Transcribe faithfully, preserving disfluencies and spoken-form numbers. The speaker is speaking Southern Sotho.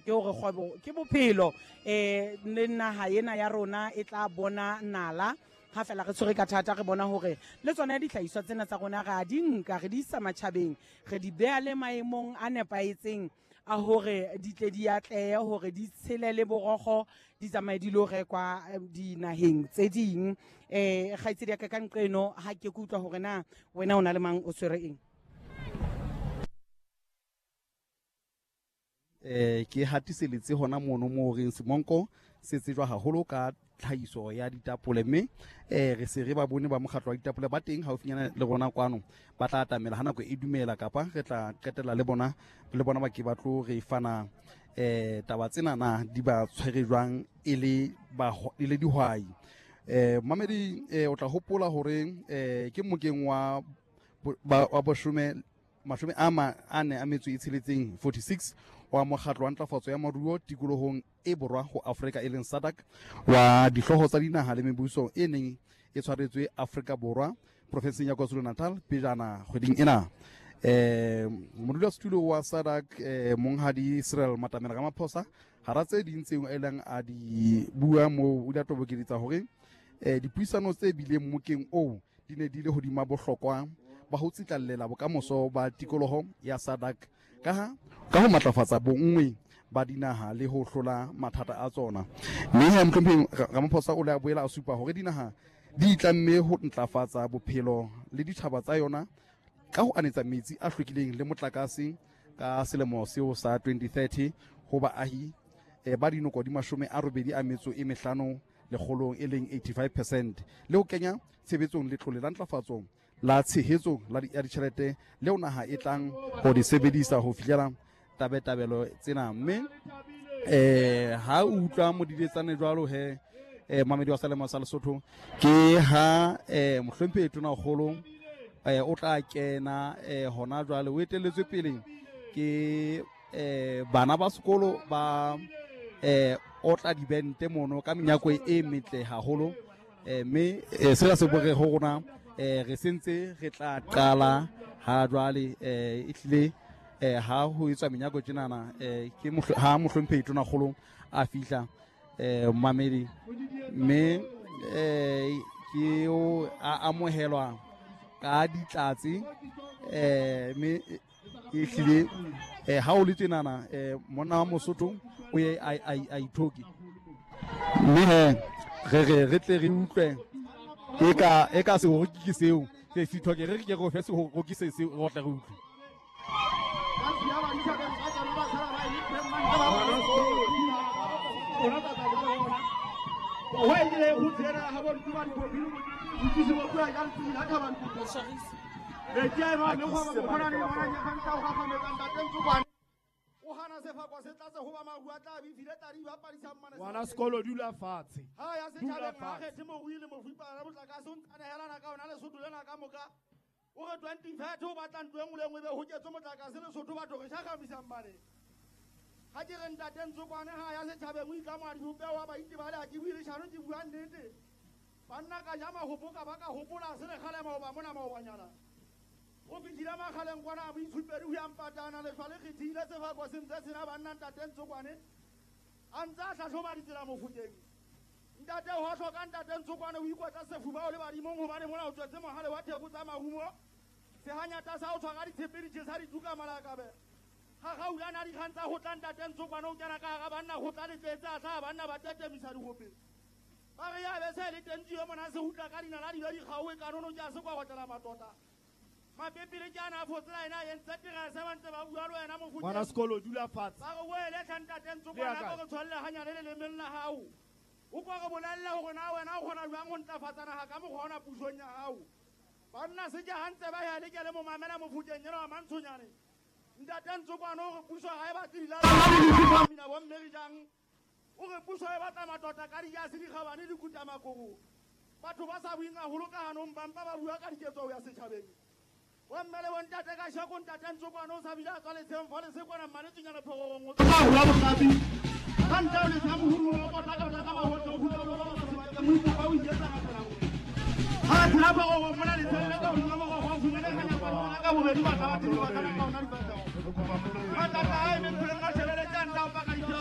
ke hore kgwebo ke bophelo. Eh le naha ena ya rona e tla bona nala ha fela re tshwere ka thata, re bona hore le tsona dihlahiswa tsena tsa rona re a di nka, re di isa matjhabeng, re di beha le maemong a nepahetseng a hore di tle di atlehe, hore di tshele le borokgo, di tsamaye di lo rekwa dinaheng tse ding. Eh kgaitsedi ya ka ka nqeno, ha ke ke utlwa hore na wena o na le mang, o tshwere eng? Eh ke hatiseletse hona mono mo reng Semonko se tsejwa haholo ka tlhahiso ya ditapole, mme eh re se re ba bone ba mokgatlo wa ditapole ba teng haufinyana le rona kwano, ba tla atamela ha nako e dumela, kapa re tla qetella le bona, le bona ba ke ba tlo re fana eh taba tsena na di ba tshwere jwang e le ba, e le dihwai. Eh mamedi, eh o tla hopola hore eh ke mokeng wa ba, wa boshome mashome a ma a ne a metso e tsheletseng forty-six wa mokgatlo wa ntlafatso ya moruo tikolohong e borwa ho Afrika e leng SADC, wa dihlooho tsa dinaha le mebuso e neng e tshwaretswe Afrika Borwa profenseng ya KwaZulu-Natal pejana kgweding ena. Eh modulasetulo wa SADC eh monghadi Cyril Matamela Ramaphosa hara tse ding tseo a ileng a di bua moo, o ile a tobokeletsa hore eh dipuisano tse bileng mokeng oo di ne di le hodima bohlokwa ba ho tsitlallela bokamoso ba tikoloho ya SADC ka ha ka ho matlafatsa bonngwe ba dinaha le ho hlola mathata a tsona. Mme he mohlomphehi Ramaphosa o le a boela a supa hore dinaha di itlamme ho ntlafatsa bophelo le ditjhaba tsa yona ka ho anetsa metsi a hlwekileng le motlakase ka selemo seo sa twenty thirty ho baahi eh, ba dinoko di mashome a robedi a metso e mehlano lekgolong e leng eighty-five percent, le ho kenya tshebetsong letlole la ntlafatso la tshehetso la ya ditjhelete leo naha e tlang ho di sebedisa ho fihlela tabetabelo tsena. Mme eh ha o utlwa modiletsane jwalo he, eh mamedi wa Selemo sa Lesotho, ke ha eh mohlomphehi Tonakgolo eh o tla kena eh hona jwale, o etelletswe pele ke eh bana ba sekolo ba eh o tla dibente mono ka menyako e metle haholo. Eh mme eh sena se bore ho rona eh re sentse re tla qala ha jwale eh e tlile eh ha ho etswa menyako tjenana eh ke ha mohlomphehi Tonakgolo a fihla eh mamedi, mme eh ke o a amohelwa ka ditlatse eh mme e hlile eh ha o le tjenana eh monna wa Mosotho o ye a a ithoki, mme he re re re tle re utlwe e ka e ka sehoroki ke seo se sithoke, re re ke re fe sehoroki se se re tle re utlwe. Ngwana sekolo dula fatshe. Ha ya setjhabeng ha kgethe morui le mofipana motlakase o ntsanehelana ka ona Lesotho lena ka moka. O re twenty thirty o batla ntlo e nngwe le nngwe be ho ketswe motlakase Lesotho batho re shakamisang bane. Ha ke re ntate Ntsokwane ha ya setjhabeng o itlama dibopeho wa baitebale, ha ke bue leshano ke bua nnete. Banna ka ja mahopo ka ba ka hopola se le kgale maoba mona maobanyana. O fihlile makgaleng kwana a boitshupedi ho ya mpatana lehlwa le kgethile sefako se ntse sena banna ntate Ntsokwane a ntse a hlahloba ditsela mofokeng. Ntate ho hloka ntate Ntsokwane o ikotla sefuba o le badimong hobane mona o tswetse mohale wa theko tsa marumo. Sehanyata sa o tshwara ditshepe di tjhesa dituka malakabe. Ha gaulana dikgang tsa ho tla ntate Ntsokwane o kena ka hara banna ho tla letletse a hlaha banna ba tetemisa dihope. Ba re ya be se le teng tjio mona se hutla ka dinala di be di kgaowe kanono ke a se kwa gotlela matota. Mapepele ke ana a fotsela ena a entse terese ba ntse ba bua le wena mofokeng. Ngwana sekolo dula fatshe. Ba re boele tlha ntate Ntsokwane a ko re tshwalle hanyane lelemeng la hao. O ko re bolelle hore na wena o kgona jwang ho ntlafatsa naha ka mokgwa ona pusong ya hao. Banna se ke hantse ba ya le ke le mo mamela mofokeng ena wa Mantshonyane. Ntate Ntsokwane o re puso ha e batle dilala mina bo mme re jang. O re puso e batla matota ka dijase dikgabane di kuta makoko. Batho ba sa bueng haholo ka hanong ba mpa ba bua ka diketso ho ya setjhabeng. Bo mme le bontate ka sheko ntate Ntsokwane o sa bile a tswa letsheng fa le sekwana mmanetsenyana phororong o tla hula boqapi. Ka ntle o letsha mohuru o kotla ka ka mahotle o hula ba ba sebakeng mo ipopa o iketsa ka tsela nngwe. Ha tshela phororong mona letsheng le ka hodima morokgo o fumane kganyapa ka bobedi ba tla ba teng ba kana ka ona dipatao. Matata a emeng pheleng a shebeletse a ntla o paka ditheo.